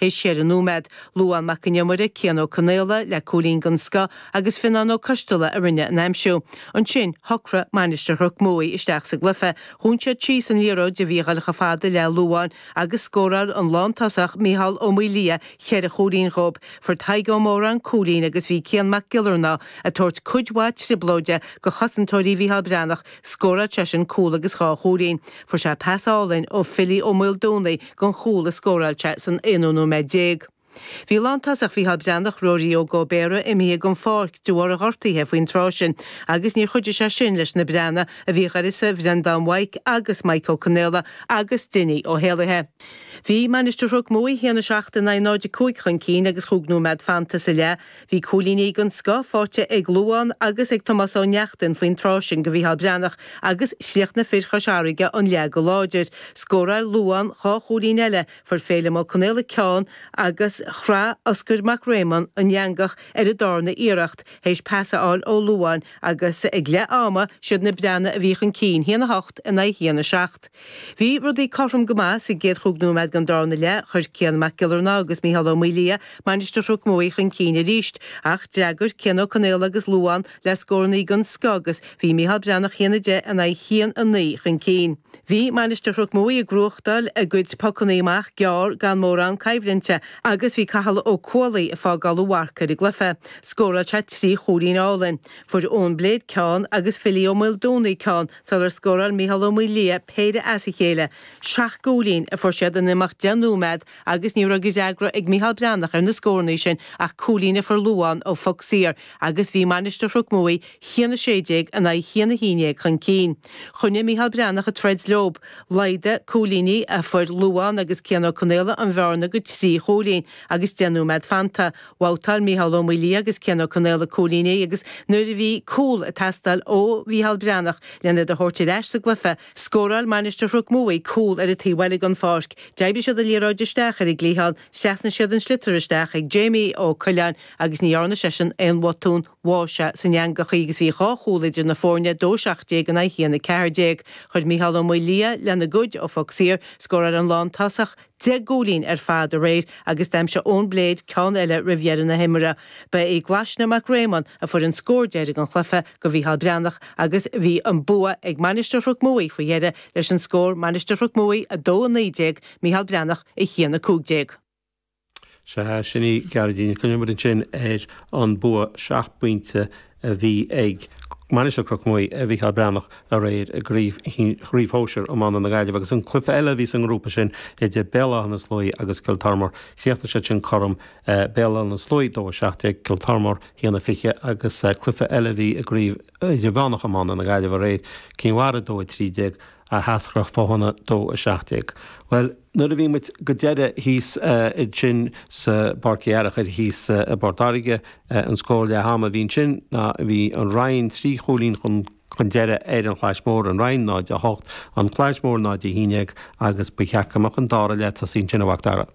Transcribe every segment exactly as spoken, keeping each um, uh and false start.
Théis ceithre nóiméad, Luán Mac an Iomaire, Cian Ó Conaola le cúilín den scoth agus Fionnán Ó Coisteala a rinne an aimsiú. Ansin shocraigh Mainistir Chnoc Muaidh isteach sa gcluiche. Dhún siad síos an liathróid a bhí ag dul chomh fada le Luán agus scóráil an lántosach Mícheál Ó Maoildhia cheithre chúilín dhóibh. Fuair Tadhg Ó Móráin cúilín agus bhí Cian Mac Giollarnáth ag tabhairt cuid mhaith trioblóide go chosantóirí Mhícheál Breathnach, scóráil seisean cúl agus dhá chúilín. Fuair sé pas álainn ó Philly Ó Maoldomhnaigh don chúl a scóráil sé san aonú nóiméad déag. Bhí lántosach Mhícheál Breathnach Ruairí Óg Ó Béarra imithe den pháirc de bharr a ghortaithe faoin tráth sin, agus níor chuidigh sé sin leis na Breathnaigh a bhí ar uireasa Bhreandán Mhaidhc agus Mike Ó Conaola agus Dinny Ó hÉalaithe. Bhí Mainistir Chnoc Muaidh haon a seacht in aghaidh náid a cúig chun cinn agus chúig nóiméad fanta sa leath. Bhí cúilíní den scoth faighte ag Luán agus ag Tomás Ó Neachtain faoin tráth sin go Mhícheál Breathnach agus chríochnaigh fir Chois Fharraige an leath go láidir. Scóráil Luán dhá chúilín eile, fuair Féilim Ó Conaola ceann agus chraith Oscar Mac Réamonn an eangach ar an darna iarracht théis pas a fháil ó Luán agus ag leath ama siad na Breathnaigh a bhí chun cinn haon a hocht in aghaidh haon a seacht. Bhí rudaí cothrom go maith sa gcéad chúig nóiméad den darna leath, chuir Cian Mac Giollarnáth agus Mícheál Ó Maoildhia Mainistir Chnoc Muaidh chun cinn arís, ach d'fhreagair Cian Ó Conaola agus Luán le scórannaí den scoth agus bhí Mícheál Breathnach haon a deich in aghaidh haon a naoi chun cinn. Bhí Mainistir Chnoc Muaidh ag gnóthachtáil a gcuid pocannaí amach gearr gan mórán coimhlinte agus bhí Cathal Ó Cualaí ag fágáil a mharc ar an gcluiche. Scóráil sé trí chúilín álainn. Fuair Eoin Blade ceann agus Philly Ó Maoldomhnaigh ceann sular scóráil Mícheál Ó Maoildhia péire as a chéile. Seacht gcúilín a fuair siad in imeacht deich nóiméad agus ní raibh de fhreagra ag Mícheál Breathnach ar na scórannaí sin ach cúilín a fuair Luán ó phoc saor agus bhí Mainistir Chnoc Muaidh haon a sé déag in aghaidh haon a haon déag chun cinn. Choinnigh Mícheál Breathnach ag troid leo. Laghdaigh cúilíní a fuair Luán agus Cian Ó Conaola an bhearna go trí chúilín agus deich nóiméad fanta. Bhabhtáil Mícheál Ó Maoildhia agus Cian Ó Conaola cúilíní agus nuair a bhí cúl ag teastáil ó Mhícheál Breathnach lena iad a thabhairt ar ais sa gcluiche, scóráil Mainistir Chnoc Muaidh cúl ar an taobh eile den pháirc. D'oibrigh siad an liathróid isteach ar an gcliathán, trasnaigh siad an sliotar isteach ag Jamie Ó Coileáin agus ní dhearna seisean aon bhotún bháigh sé san eangach agus bhí dhá chúl idir na foirne dó seacht déag in aghaidh haon a ceathair déag. Chuir Mícheál Ó Maoildhia lena gcuid ó phoc saor, scóráil an lántosach deich gcúilín ar fad aréir agus d'aimsigh Eoin Blade ceann eile roimh dheireadh na himeartha. Ba é Glaisne Mac Réamonn a fuair an scór deiridh an chluiche go Mhícheál Breathnach agus bhí an bua ag Mainistir Chnoc Muaidh faoi dheireadh leis an scór Mainistir Chnoc Muaidh a dó a naoi déag, Mícheál Breathnach a haon a cúig déag. Sea sin í Gearóidín Coimid ansin ar an bua seacht bpointe a bhí ag Mainistir Chnoc Muaidh ar Mhícheál Breathnach aréir i gcraobh chraobh shóisir iomána na Gaillimhe agus an cluiche eile a bhí sa ngrúpa sin idir Béal Átha na Sluaighe agus Cill Tormóir. Chríochnaigh siad sin cothrom Béal Átha na Sluaighe dó a seacht déag Cill Tormóir haon a fiche agus cluiche eile a bhí i gcraobh idirmheánach iomána na Gaillimhe aréir Cinn Mhara dó a trí déag Eascrach Fáthanna dó a seacht déag. Well nuair a bhí muid go deireadh thíos ansin sa Páirc Uí Fhearchair thíos i bPort Láirge an scór leath ama a bhí ansin ná bhí an Rinn trí chúilín chun chun deireadh ar an Chlais Mhór an Rinn náid a hocht an Chlais Mhór náid a haon déag agus ba cheart go mbeadh an dara leath tosaithe ansin a Mhac Dara.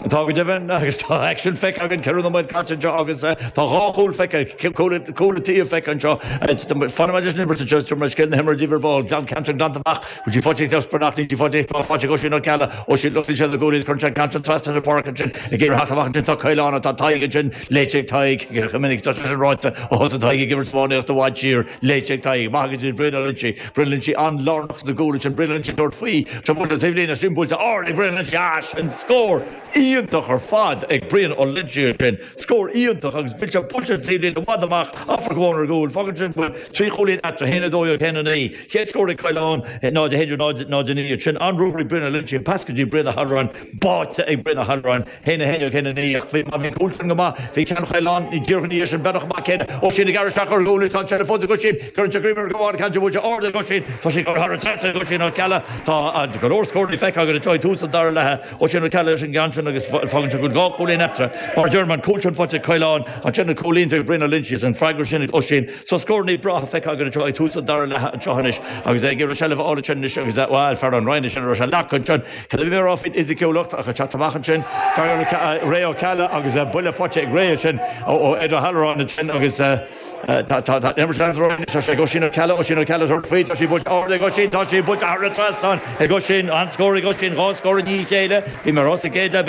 Tá go deimhin agus tá aicsean feicthe againn ceithre nóiméad caite anseo agus tá dhá chúl feicthe cúl an tí feicthe anseo Fanfaidh leis an imirt anseo tar scéal na himeartha daoibh ar ball glan ceann glanta amach bhfuil sí faighte ag Spernach ní faighte faighte ag Oisín Ó Ceallaigh Oisín lucht sé na gcúilín chun sé ceann trasna na páirce ansin ag iarraidh amach ansin tá Caolán tá Tadhg ansin léite ag Tadhg go minic tá sin ráite ó thosaigh Tadhg ag imirt iománaíocht i bhfad siar léite ag Tadhg maith go dtí Brian Ó Loinsigh Brian Loinsigh an-lárnach sa gcúl ansin Brian Loinsigh tabhairt faoi seo buailte taobh líne sin buailte ard ag Brian Loinsigh ah sin scór iontach ar fad ag Brian Ó Loinsigh sin scór iontach agus bhí sé buailte taobh líne i bhfad amach afar go ar gcúl fágann sin go trí chúilín eatarthu haon a dó haon a naoi chéad scór ag Caolán náid a haon náid náid a naoi sin an-ruathar ag Brian Ó Loinsigh pas go dtí Brian Ó hAlráin báite ag Brian Ó hAlráin haon a haon haon a naoi ach bhí bhí cúl sin go maith bhí ceann Chaolán ní díreach ní sin beanach amach céanna ó sin ag isteach ar gcúl tá sé fós ag sin cuireann sé greim ar gabháil ceann buailte ard ag sin tá sé thar an trasnán ag sin Ó Ceallaigh tá go leor scóranna feicthe againn anseo tús an dara leath ó sin Ó Ceallaigh leis an gceann sin agus agus fágann sé go dhá chúilín eatarthu mar deir an cúl sin faighte ag Caolán ansin an cúilín ag Brian Ó Loingsigh an freagra sin ag Oisín so scóranna breátha feicthe againn anseo ag tús an dara leath anseo anois agus é ag iarraidh seilbh a fháil ansin anois agus bhuel fear an Rinn sin a raibh sé leac ansin cad a bhí mé a rá faoin fhisiciúlacht ach ag teacht amach ansin fear Ray Ó Ceallaigh agus buille faighte ag Ray ansin ó Ed O'Halloran ansin agus Tá tá imirt leanúint ar aghaidh anois, tá sé ag Oisín Ó Ceallaigh, Oisín Ó Ceallaigh tabhairt faoi, tá sí buailte ard ag Oisín, tá sí buailte thar an trasnán ag Oisín, an-scór ag Oisín, dhá scór i ndiaidh a chéile, bhí mé a rá sa gcéad leath,